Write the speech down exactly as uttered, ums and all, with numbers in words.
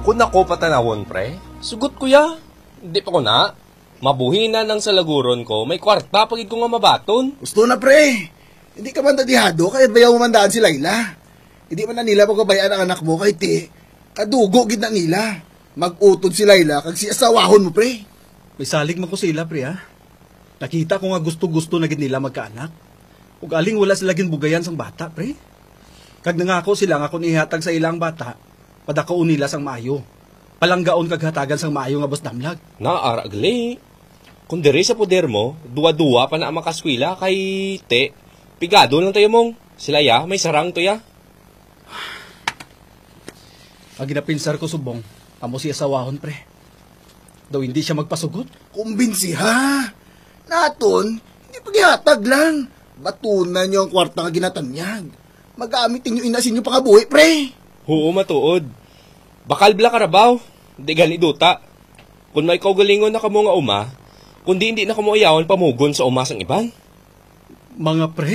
Kung ako patanawon, pre, sugot ko ya. Di pa ko na. Mabuhi na nang sa laguron ko, may kwarta pa gid ko nga mabaton. Gusto na, pre. Hindi ka man dadihado, kay bayaw mo man daan si Laila. Hindi man na nila pagbabayaan ang anak mo, kay ti, kadugo gid na nila. Mag-utod si Laila, kag si asawahon mo, pre. May salig man ko sa ila, pre, ha? Nakita ko nga gusto-gusto na gid nila magkaanak. Ug aling wala sila ginbugayan sang bata, pre. Kag nangako sila nga kung ihatag sa ila ang bata, padakaon nila sang maayo. Palanggaon kag hatagan sang maayo nga bus damlag. Naara gali. Kung diri sa poder mo, duwa-duwa pa na ang makaskwela kay te, pigado lang tayo mong. Sila ya, may sarang to ya. Ang ginapinsar ko subong, amo si asawahon, pre. Daw hindi siya magpasugot. Kumbinsiha. Naton, hindi pagihatag lang. Batunan niyo ang kwarta nga ginatanyag. Magamit ninyo ina sa inyo pangabuhi, pre. Oo, matuod. Bakal bala karabaw. Di gani duta. Kung may kaugalingon na kamo nga uma, kundi hindi na kamo ayawan pamugon sa uma sang iban. Mga pre,